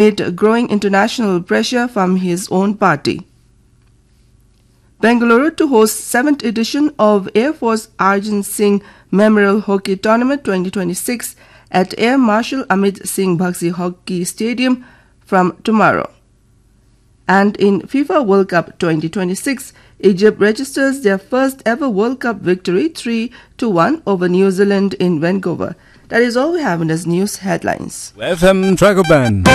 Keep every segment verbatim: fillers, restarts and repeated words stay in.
amid growing international pressure from his own party. Bengaluru to host seventh edition of Air Force Arjun Singh Memorial Hockey Tournament twenty twenty-six at Air Marshal Amit Singh Bagchi Hockey Stadium from tomorrow. And in FIFA World Cup twenty twenty-six, Egypt registers their first ever World Cup victory, three to one over New Zealand in Vancouver. That is all we have in this news headlines. F M Dragon Band.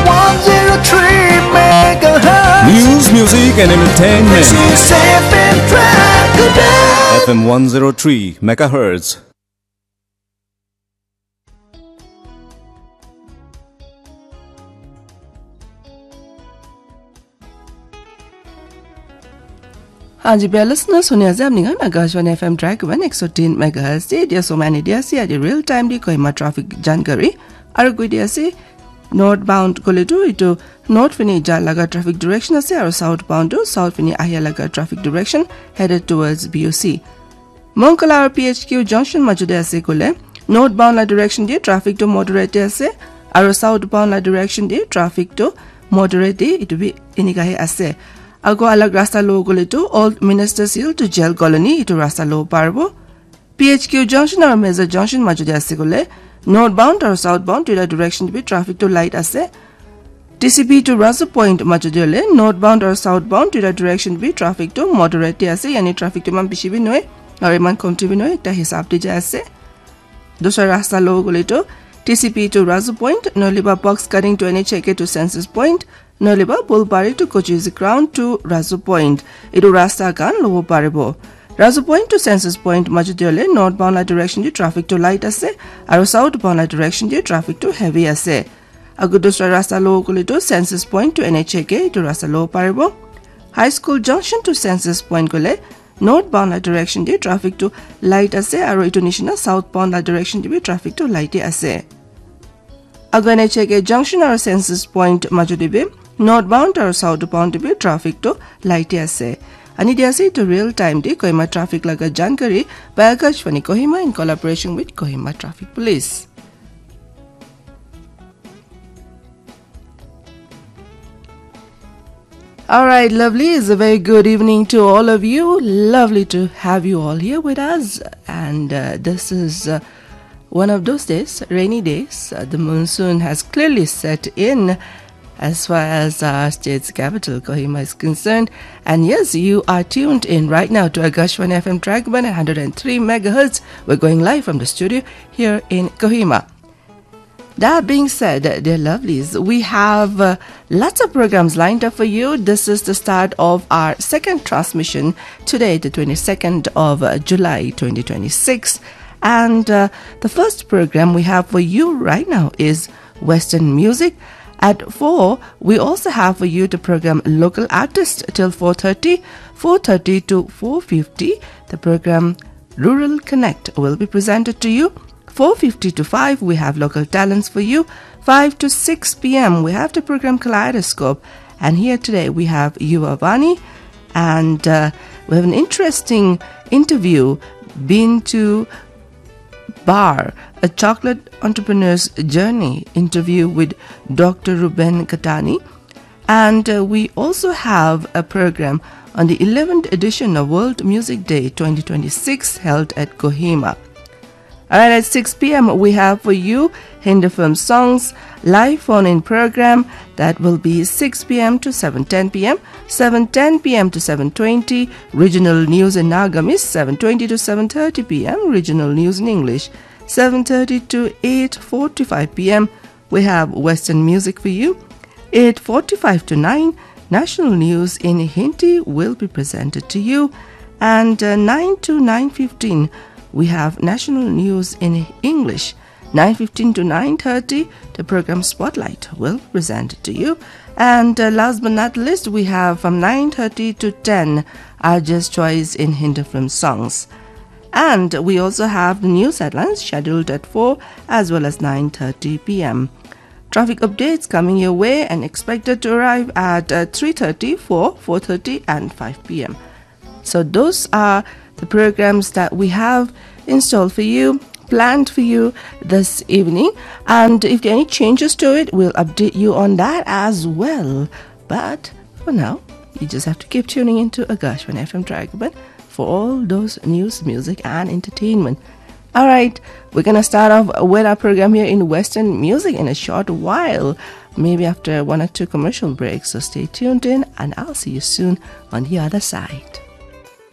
One zero three megahertz. News, music, and entertainment. This is F M Dragon Band. F M one zero three megahertz. Hanji, bia listeners, huni ase apni khan Akashvani F M Dragon Band ek so tin megahertz te. Dia somani dia ase, aji real time di Kohima traffic jankari. Aru koi dia ase, northbound kole tu itu north fini ja laga traffic direction ase, aru southbound tu south fini ahia laga traffic direction headed towards B O C. Monkala aru P H Q junction majo te ase kole, northbound la direction te traffic tu moderate te ase, aru southbound la direction te traffic tu moderate te, itu bi enika he ase. Ago alag rasta lo kole tu Old Ministers Hill to Jail Colony itu rasta lo paribo. P H Q junction aru Meza junction majo te ase kole, northbound aru southbound duita direction te bi traffic tu light ase. T C P to Razu Point majo te hole, northbound aru southbound duita direction bi traffic tu moderate te ase, yani traffic tu iman bishi bi nohoi, aru iman komti bi nohoi, ekta hisab te jai ase. Dusra rasta lo kole tu T C P to Razu Point, nohole ba Box Cutting to N H A K to Census Point, nohole ba Bulbari to Kochuzi Ground to Razu Point. Itu rasta khan lobo paribo. Razu Point to Census Point majo te hole northbound la direction te traffic tu light ase, aru southbound la direction te traffic tu heavy ase. Agu dusra rasta lo kole tu Census Point to N H A K itu rasta lo paribo. High School Junction to Census Point kole northbound la direction te traffic tu light ase, aru itu nishina southbound la direction te bi traffic tu light te ase. Agu N H A K Junction aru Census Point majo te bi northbound aru southbound te bi traffic tu light te ase. Ani dia ase itu real time te Kohima traffic laga jankari by Akashvani Kohima in collaboration with Kohima Traffic Police. All right, lovely. It's a very good evening to all of you. Lovely to have you all here with us. And uh, this is uh, one of those days, rainy days. Uh, the monsoon has clearly set in as far as our state's capital, Kohima, is concerned. And yes, you are tuned in right now to Akashvani F M Dragon Band at hundred and three megahertz. We're going live from the studio here in Kohima. That being said, dear lovelies, we have uh, lots of programs lined up for you. This is the start of our second transmission today, the twenty-second of uh, July twenty twenty-six. And uh, the first program we have for you right now is Western music. At four, we also have for you the program Local Artist till four thirty, four thirty to four fifty. The program Rural Connect will be presented to you. Four fifty to five, we have local talents for you. Five to six p m, we have the program Kaleidoscope. And here today, we have Yuva Vani. And uh, we have an interesting interview, Been to Bar, a chocolate entrepreneur's journey interview with Doctor Ruben Katani. And uh, we also have a program on the eleventh edition of World Music Day twenty twenty-six held at Kohima. All right, at six p m, we have for you Hindi film songs, live phone-in program that will be six p m to seven ten p m, seven ten p m to seven twenty, regional news in Nagamese, seven twenty to seven thirty p m, regional news in English, seven thirty to eight forty-five p m, we have Western music for you. Eight forty-five to nine, national news in Hindi will be presented to you. And uh, nine to nine fifteen, we have national news in English. Nine fifteen to nine thirty, the program Spotlight will be presented to you. And uh, last but not least, we have from nine thirty to ten, our Just Choice in Hindi film songs. And we also have the news headlines scheduled at four as well as nine thirty p m. Traffic updates coming your way and expected to arrive at uh, three thirty, four, four thirty, and five p m. So those are the programs that we have in store for you. planned for you this evening. And if there are any changes to it, we'll update you on that as well. But for now, you just have to keep tuning into Akashvani F M Dragon for all those news, music, and entertainment. All right, we're gonna start off with our program here in Western music in a short while, maybe after one or two commercial breaks. So stay tuned in, and I'll see you soon on the other side.